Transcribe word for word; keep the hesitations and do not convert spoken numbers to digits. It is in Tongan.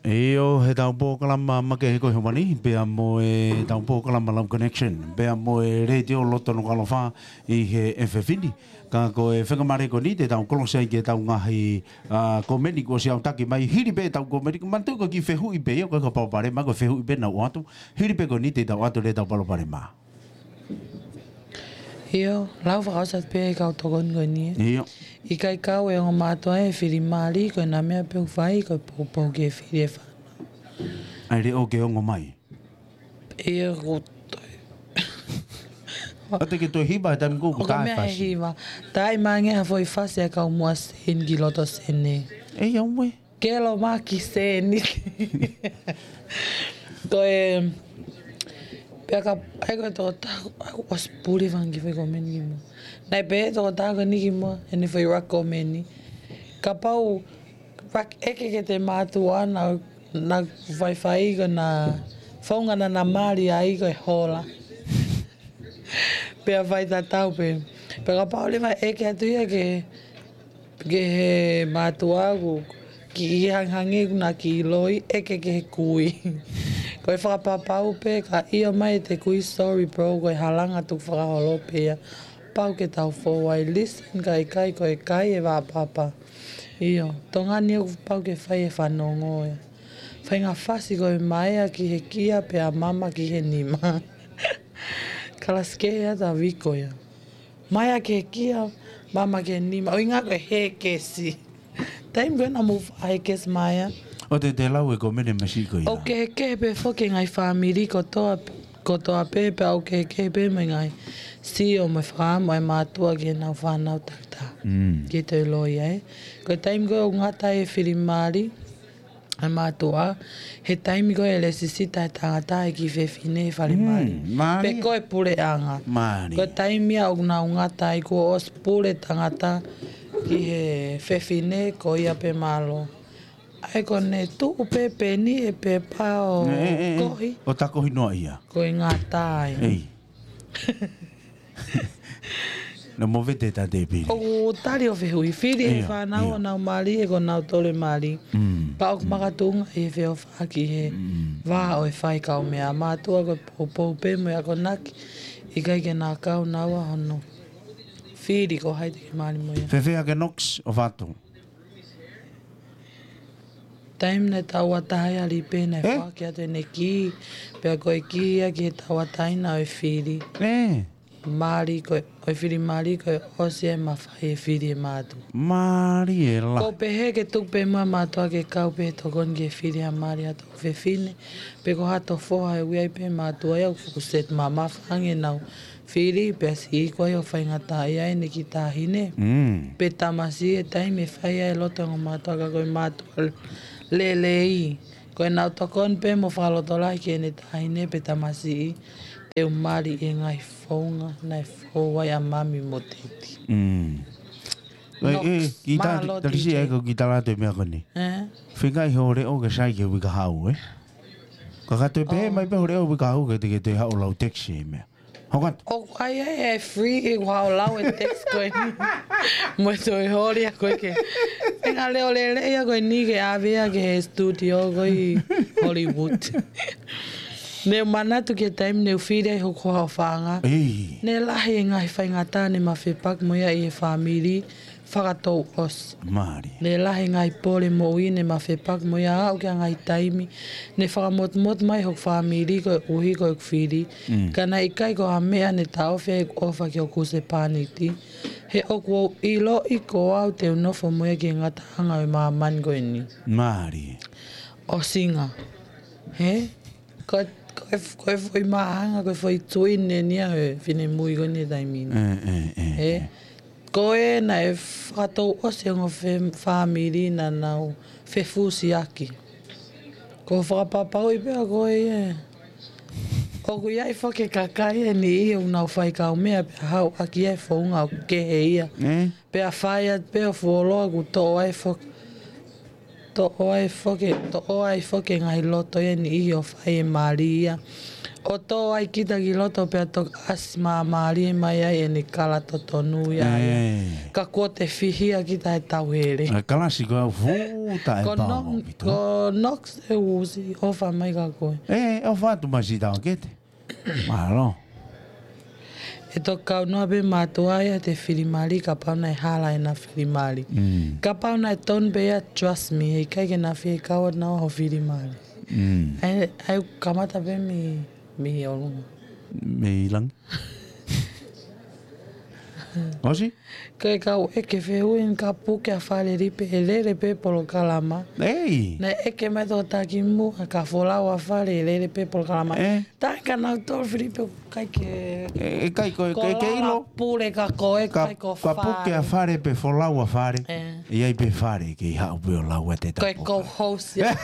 ʻIo, heʻetau polokalama makehe ko ē he ʻaho ni, pea mo ʻetau polokalama Love Connection, pea mo e Letiō Loto Nukuʻalofa ʻi he efiafi ni. Ka ko e faingamālie ko eni te tau kolosi ai ki heʻetau ngaahi, ā, komeni kuo ʻosi ʻautaki mai, hili pē ʻetau komeni, manatuʻi ko e kiʻi fehuʻi pē ia, ʻikai ko ha palopalema, ko e fehuʻi pē naʻa ku ʻoatu, hili pē ko eni te tau ʻoatu leva ʻetau palopalema. ʻIo, lau fakaʻosi atu pē ʻe kau tokoni ko eni ē. ʻIo. ʻIkai kau e ongo mātuʻa ʻe fili mali, ko ʻena meʻa pē ʻoku fai, ko e poupou ki he fili e fānau. ʻAi leʻo ke ongo mai. ʻIo, ko toe. ʻOua te ke toe hiva he taimi ko ē ʻoku ʻOka tā e meʻa he fasi. Hiva. Taimi ange ha foʻi fasi ʻa e kau muʻa seni ki loto sene. ʻEi, ʻauē. Kelo maki seni. Ko e, pea ka, ʻai ko e toko taku, ʻoku ʻosi puli fanga kiʻi foʻi komeni kimuʻa. Naʻe pehē toko taku ni kimuʻa, ʻene foʻi rak komeni. Kapau, rak ʻeke ke te mātuʻa na, na faifai ko na, founga na na mali ai ko e hola. Pea fai tatau pē. Pea kapau leva ʻeke atu ia ke, ke he mātuʻa ʻoku kiʻi hangehangē ʻoku na kiʻi loi ʻeke ke he kui. Ko e fakapapau pē ka ʻio mai ʻete kui, sorry bro, ko e halanga tukufakaholo pē ia. Pau ke tau fou ai, listen ka ʻikai ko e kai e vapapa. ʻIo, Tonga ni ʻoku pau ke fai e fanongo ia. Faʻahinga fasi ko e maea ki he kia pea mama ki he nima. Kalasi kehe ʻa Taviko ia. Maea ki he kia, mama ki he nima. ʻUhinga ko e hekesi. Taimi ko ē naʻa mou faʻa hekesi maea. ʻOua te te lau e komeni masiʻi ko ia. ʻOku kehekehe pē foki e ngaahi fāmili kotoa, kotoa pē pea ʻoku kehekehe pē mo e ngaahi sio mo e fakaʻamu ʻa e mātuʻa ki heʻenau fānau takitaha. Mm. Ki he toe loi ē. Ko e taimi ko ē ʻoku ngata ai e fili mali, ʻa e mātuʻa, he taimi ko ē ʻe lesisita e tangata ʻe he kiʻi fefine he fale mali. Mm, mali. Pe ko e puleʻanga. Mali. Ko e taimi ia ʻoku nau ngata ai kuo ʻosi pule tangata ki he fefine ko ia pē mālō. ʻAi ko ʻene tuʻu pē peni ʻe pepa ʻo ʻE, ʻe, ʻe, ʻe. Kohi. ʻO tā kohi noa ia. Ko e ngata ai. ʻEi. Naʻa mo vete tā te pili. ʻOku tali ʻo fehuʻi fili e ʻIo, fānau ʻio. ʻo nau mali ʻe ko nau tole mali. Mm, Pea ʻoku mm. makatuʻunga ʻi he feʻofaʻaki he Mm. vā ʻo e fai kaumeʻa mātuʻa ko e poupou pē mo e akonaki. ʻIkai ke na kau naua hono fili ko hai te ke mali mo ia. Fēfē ʻa e Knox ʻo fatu. Taimi naʻe tauʻatāina ʻa Lipe naʻe ʻE? foaki atu ʻene kī, pea ko e kī ia ki he tauʻatāina ʻo e fili. ʻE? Mali ko e, ʻo e fili mali ko e ʻosi e mafai e fili e mātuʻa. Mali e la. Ko e pehē ke tuku pē muʻa mātuʻa ke kau pē tokoni ke fili ha mali ʻa e toʻu fefine. Pe ko hato foha ʻe ui ai pē mātuʻa ia ʻoku fuku set mamafa ange nau fili, pea siʻi ko ai ʻo faingataʻaʻia ʻene kiʻi taʻahine. Mm. Pe tamasiʻi he taimi ʻe fai ai e loto e ongo mātuʻa ka ko e mātuʻa lelei. Ko ʻenau tokoni pē mo fakalotolahi ki heʻene taʻahine pe tamasiʻi. Te u mali e ngaahi founga naʻe fou ai ʻa mami mo teti. Mm. Knox, ʻE, ʻe, ki tā, mālō tali si T J. ʻAi ko ki tā lā te meʻa ko eni. ʻE? Fengai ho leʻo ke sai ke uika hau, ē? Ka ka toe pehē Oh. mai pē ho leʻo uika hau ke te ke toe haʻu lau text e meʻa. Hokatu. ʻOku ʻai ai e free ke ua o lau e text ko eni. Mo e toe holi a ko ē ke. E ngaahi leʻo lelei a ko eni ke ʻave ia ki he studio ko ē ʻi Hollywood. Ne u manatu ki he taimi ne u fili ai hoku hoa ʻofaʻanga. ʻEi. Ne lahi e ngaahi faingataʻa ne ma fepaki mo ia ʻi he fāmili. Fakatouʻosi. Mali. Ne lahi e ngaahi pole moʻui ne ma fepaki mo ia aʻu ki he ngaahi taimi ne fakamotumotu mai hoku fāmili koeʻuhi ko ʻeku fili. Mm. Ka naʻe ʻikai ko ha meʻa ne taʻofi ai ʻeku ʻofa ki hoku husepāniti. He ʻoku ou ʻiloʻi ko au te u nofo mo ia ki he ngataʻanga ʻo e māmani ko eni. Mali. ʻOsinga. He? Ko, ko e, ko e foʻi māhanga, ko e foʻi tuʻi ne nia he finemui ko eni he taimi ni. ʻE, ʻe, ʻe, ʻE, ʻe. Ko ē naʻe fakatouʻosi e ongo fe-, fāmili naʻa nau fefusiaki. Ko e fakapapauʻi pē ʻa koe ē. ʻOku ʻi ai foki e kakai ʻe niʻihi ʻoku nau fai kaumeʻa pea haʻu ʻaki e founga ʻoku kehe ia. ʻE? Pea fai atu pē ʻo fuoloa kuo toʻo ai foki, toʻo ai foki, toʻo ai foki e ngaahi loto ia ʻe niʻihi ʻo fai e mali ia. ʻo tō ai kita ki loto pea toki ʻasi māmālie mai ai ʻene kala totonu ia. Ka kuo te fihia kita he tauhele. Kalasi ko au futa e pao pito. Ko Knox e usi ʻofa mai ka koe. E ʻofa atu mai si tau kete. Mālō. E toki kau noa pē mātuʻa ia te filimali kapau naʻe hala ʻena filimali. Kapau naʻe tonu pē ia trust me, he ʻikai ke na fie kau atu naua ho filimali. ʻAi, ʻai kamata pē mei, mei ʻolunga. Mei langi. ʻOsi? Ko e kau ʻeke fehuʻi ni ka puke ʻa Fale Lipe ʻe lele pē polokalama. Ei. Naʻe ʻeke mai tō taki mu, ʻa ka folau ʻa Fale ʻe lele pē polokalama. Taʻe ka nau tō Filipe kai ke. E kai ko e ke ilo. Pule ka ko e kai ko Fale. Ka puke ʻa Fale pē folau ʻa Fale. ʻE ai pē Fale ke i haʻu pē ʻo lau ʻa te tapu. Ko e co-host ia.